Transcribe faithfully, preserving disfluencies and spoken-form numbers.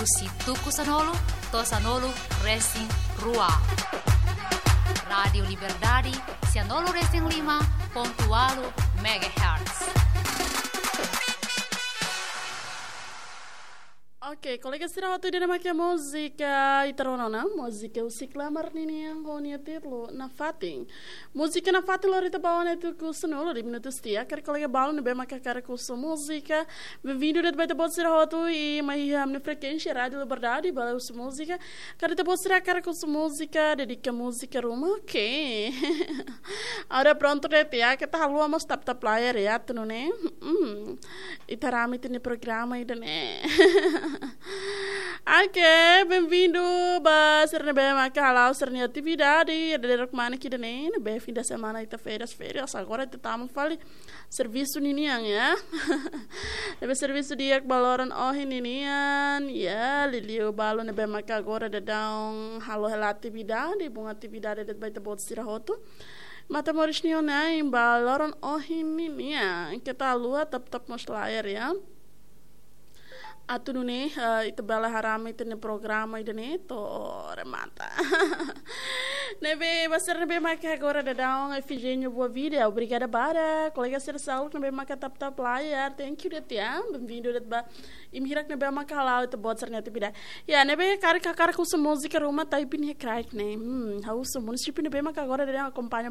Husi tuku sanulu to'o sanulu resin rua. Rádiu Liberdade, sanulu resin lima pontu ualu megahertz. Ok, kolega sira, atu ida-ne'e mak múzika ita rona ona, múzika husi Klamar ninian ho nia títulu Nafatin. Múzika Nafatin lori ita ba ona tuku sanulu de'it minutus tiha. Karik kolega balu ne'ebé mak hakarak husu múzika, benvindu de'it ba ita-boot sira hotu iha mai iha ami-nia frekuénsia Rádiu Liberdade, bele husu múzika. Karik ita-boot sira hakarak husu múzika, dedika múzika ruma, ok. Agora prontu de'it, ya, keta haluha mós tap-tap layar, ya, atu nune'e. Hmm. Ita haree ami-nia programa ida-ne'e. Ok, benvindu ba sira ne'ebé maka hala'o sira-nia atividade, ida-idak mane ida-ne'e, ne'ebé fim de semana ita férias, férias, agora ita tama fali servisu ninian, ya. Ne'ebé servisu di'ak ba loron ohin ninian, ya, liuliu balu ne'ebé maka agora daudaun halo hela atividade, bun atividade de'it ba ita-boot sira hotu. Matan moris nia ona ba loron ohin ninian, keta haluha tap-tap mós layar, ya. Atu nune'e, eh, ita bele haree ami-nia programa ida-ne'e to'o remata. Ne'ebé ba sira ne'ebé maka agora daudaun Efigênio Boa Vida, obrigada barak. Kolega sira seluk ne'ebé maka tap-tap layar, thank you de'it, ya. Benvindu de'it ba imi hirak ne'ebé maka hala'o ita-boot sira-nia atividade. Ya, ne'ebé karik hakarak husu múzika ruma, taipe nia kraik ne'e. Hmm, ha'u husu múzika ne'ebé maka agora daudaun akompaña